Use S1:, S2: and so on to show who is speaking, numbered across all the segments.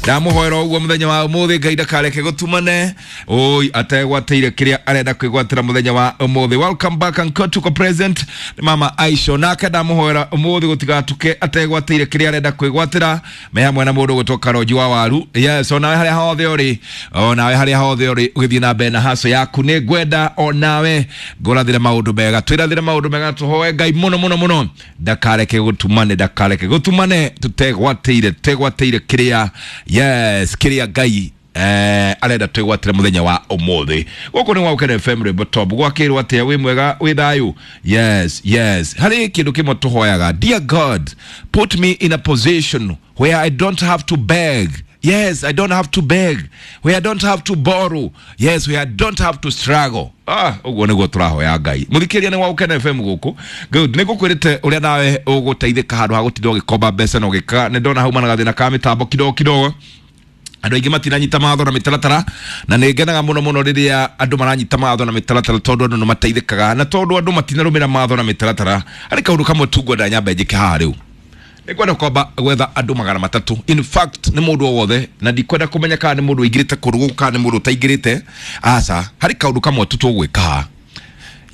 S1: Ndamũhoera ũguo mũthenya wa ũmũthĩ, Ngai ndakareke gũtumane oi ategwatĩire kĩrĩa arenda kwĩgwatĩra mũthenya wa ũmũthĩ. Welcome back and tuko present nĩ mama Aisha, nake ndamũhoera ũmũthĩ gũtigatuke ategwatĩire kĩrĩa arenda kwĩgwatĩra, me hamwe na mũndũ gũtwo Karonji wa Waru. Yes, onawe harĩa hothe ũrĩ, onawe harĩa hothe ũrĩ ũgĩthiĩ na mbere na haco yaku, nĩ ngwenda onawe ngũrathĩre maũndũ mega, twĩrathĩre maũndũ mega, tũhoe Ngai mũno mũno mũno ndakareke gũtumane, ndakareke gũtumane tũtegwatĩire, tũtegwatĩire kĩrĩa, yes, kĩrĩa Ngai arenda twĩgwatĩre mũthenya wa ũmũthĩ. Gũkũ nĩ Waũkene FM, rwĩmbo top. Gwakĩrwo atĩa? Wĩ mwega? Wĩ thayũ? Yes, yes. Harĩ kĩndũ kĩmwe tũhoyaga: "Dear God, put me in a position where I don't have to beg." Yes, I don't have to beg, where I don't have to borrow. Yes, where I don't have to struggle. Ah, ũguo nĩguo tũrahoya Ngai. Mũthikĩria, nĩ Waũkene FM gũkũ. Good, nĩ ngũkwĩrĩte ũrĩa nawe ũgũteithĩka handũ ha gũtinda ũgĩkomba mbeca na ũgĩka. Nĩ ndona hauma na gathĩna ka mĩtambo kidogo kidogo, andũ aingĩ matiranyita mawatho na mĩtaratara, na nĩ ngenaga mũno mũno rĩrĩa andũ maranyita mawatho na mĩtaratara, tondũ andũ nĩ mateithĩkaga. Na tondũ andũ matinarũmĩra mawatho na mĩtaratara, harĩ kaũndũ kamwe tu ngwenda nyambe njĩke haha rĩu. Nĩ ngwenda kwamba gwetha andũ 300. In fact, nĩ mũndũ o wothe, na ndikwenda kũmenya kana nĩ mũndũ ũingĩrĩte kũndũ gũkũ kana nĩ mũndũ ũtaingĩrĩte. Aca, harĩ kaũndũ kamwe tu tũgwĩka haha.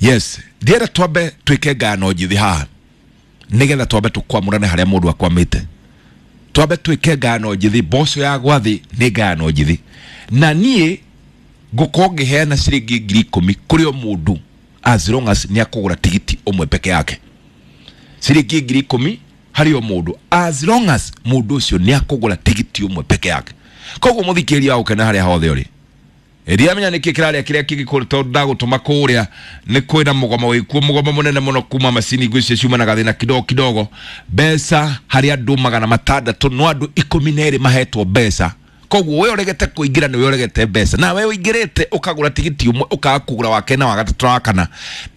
S1: Yes, ndienda twambe twĩke ngayano njĩthĩ haha, nĩgetha twambe tũkwamũrane harĩa mũndũ akwamĩte. Twambe twĩke ngayano njĩthĩ. Mboco ya gwathĩ nĩ ngayano njĩthĩ, na niĩ ngũkorwo ngĩheana ciringi 10,000 kũrĩ o mũndũ as long as nĩ akũgũra tigiti ũmwe peke yake. Ciringi 10,000 harĩ o mũndũ as long as mũndũ ũcio nĩ akũgũra tigiti ũmwe peke yake. Koguo mũthikĩrĩria wa gũkena, harĩa hothe ũrĩ, ndiramenya nĩkĩ kĩrarĩa kĩrĩa kĩngĩ, tondũ ndagũtũma kũrĩa nĩ kwĩna mũgomo wĩkuo, mũgomo mũnene mũno kuma macini ngwĩciria ciuma na gathĩna kidogo kidogo. Mbeca harĩ andũ 600, no andũ 12 mahetwo mbeca. Koguo we ũregete kũingĩra, nĩwe ũregete mbeca, na we ũingĩrĩte ũkagũra tigiti ũmwe, ũkaga kũgũra wa kerĩ na wa gatatũ na wa kana,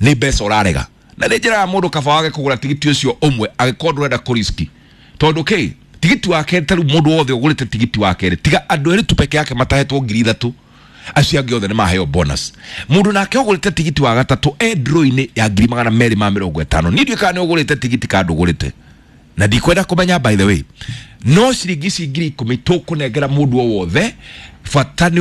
S1: nĩ mbeca ũrarega. Na nĩ njĩra ya mũndũ kaba wage kũgũra tigiti ũcio ũmwe angĩkorwo ndũrenda kũriski, tondũ kĩ tigiti wa kerĩ, ta rĩu mũndũ wothe ũgũrĩte tigiti wa kerĩ, tiga andũ erĩ tu peke yake matahetwo 3,000, acio angĩ othe nĩ maheo bonus. Mũndũ nake ũgũrĩte tigiti wa gatatũ e draw-inĩ ya 250,000. Niĩ ndiũĩ kana nĩ ũgũrĩte tigiti kana ndũgũrĩte, na ndikwenda kũmenya, by the way. No ciringi ici 10,000 tũkũnengera mũndũ o wothe, bata nĩ